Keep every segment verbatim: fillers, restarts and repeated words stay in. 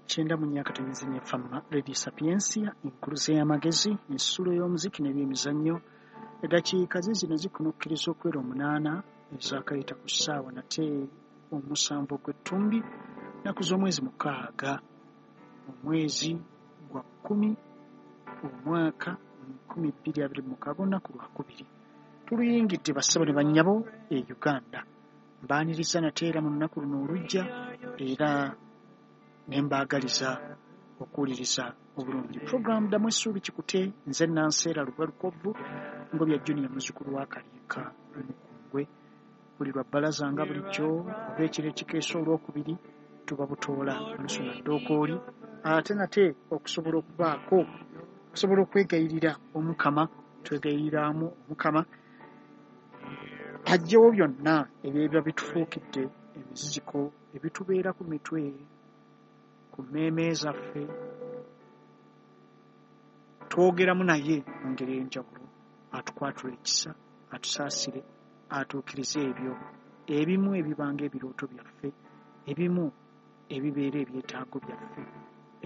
Kyenda mu nnya akatonyeze ne Fama Radio Sapiensia, enkuluze y'amagezi, ensulo y'omuziki n'ebyemizannyo. Eddakiika ziizino zikunukkiriza okwera omunaana ezaakayita ku ssaawa nate omusanvu ogw'ettumbi, nnaku z'omwezi mukaaga, omwezi gwa kkumi, omwaka nkumi bbiri abiri mu mukaaga, olunaku lwakubiri. Tuluyingidde bassebo ne bannyabo e Uganda. Mbaaniriza nate era mu lunaku luno olujja, era ne mbaagaliza okuwuliriza obulungi. Puroguramu Ddamu Essuubi Kikute, nze Nanseera Lugwa Lukovvu, Ngobya Junior, muzzukulu wa Kaliika Mukungwe. Buli lwa bbalaza nga bulijjo oba ekiro ekikeesa olwokubiri tuba butoola Lusuna Ddookooli, ate nate okusobola okubaako okusobola okwegayirira Omukama, twegayiriramu Omukama aggyewo byonna ebiba bitufuukidde emiziziko ebitubeera ku mitwe, ku mmeeme zaffe. Twogeramu naye mu ngeri ey'enjawulo, atukwatule ekisa, atusaasire, atuukirize ebyo ebimu ebibanga ebirooto byaffe, ebimu ebibeera ebyetaago byaffe,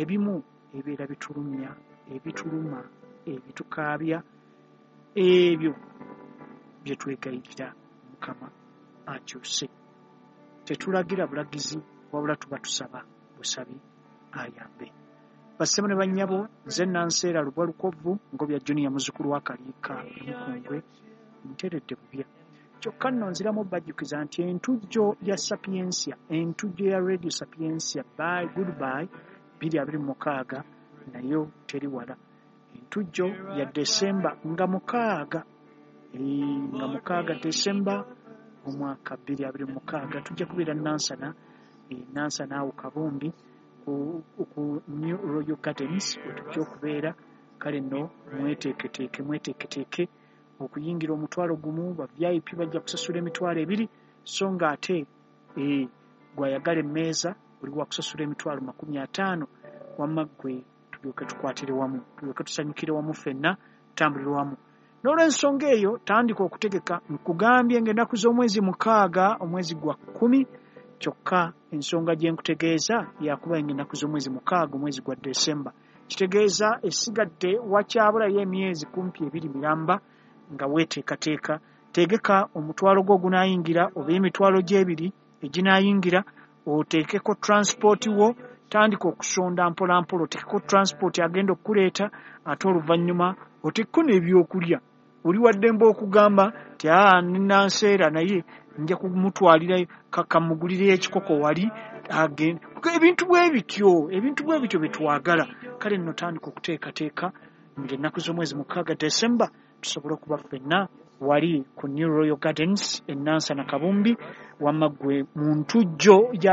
ebimu ebibeera bitulumya, ebituluma, ebitukaabya, ebyo bye twegayirira Mukama akyuse. Tetulagira bulagizi, wabula tuba tusaba busabi ayambe. Bassebo ne bannyabo, nze Nanseera Lubwa Lukovvu, Ngobya Junior, muzzukulu wa Kaliika Mukungwe, nteredde bubya. Kyokka nno nziramu obbajjukiza nti entujjo ya Sapiensia, entujjo ya Radio Sapiensia bye goodbye bbiri abiri mu mukaaga nayo teri wala. Entujjo ya Desemba nga mukaaga, nga mukaaga Desemba omwaka bbiri abiri mu mukaaga, tujja kubeera Nansana, Nansana awo Kabumbi ku, ku New Royal Gardens we tujja okubeera. Kale nno mweteeketeeke, mweteeketeeke okuyingira omutwalo gumu, ba V I P bajja kusasula emitwalo ebiri, so ng'ate e, gw'ayagala emmeeza oli wa kusasula emitwalo makumi ataano. Wamma ggwe tulyoke tukwatire wamu, tulyoke tusanyukire wamu ffenna, tutambulire wamu. N'olw'ensonga eyo tandika okutegeka. Nkugambye ng'ennaku z'omwezi mukaaga, omwezi gwa kkumi, kyokka ensonga gye nkutegeeza yakuba ng'ennaku z'omwezi mukaaga, omwezi gwa Desemba. Kitegeeza esigadde wakyabulayo emyezi kumpi ebiri miramba nga weeteekateeka. Tegeka omutwalo gwo ogunaayingira oba emitwalo gy'ebiri eginaayingira, oteekeko transport wo, tandika okusonda mpola mpola, oteekeko transport agenda okukuleeta, ate oluvannyuma oteekeko n'ebyokulya. Oli waddembe okugamba nti aa Nanseera naye nja kumutwalira kamugulireyo ekikoko wali agende. Ebintu bwe bityo, ebintu bwe bityo bye twagala. Kale nno tandika okuteekateeka ng'ennaku z'omwezi mukaaga Desemba tusobole okuba ffenna wali ku New Royal Gardens e Nansana Kabumbi, wamma ggwe mu ntujjo ya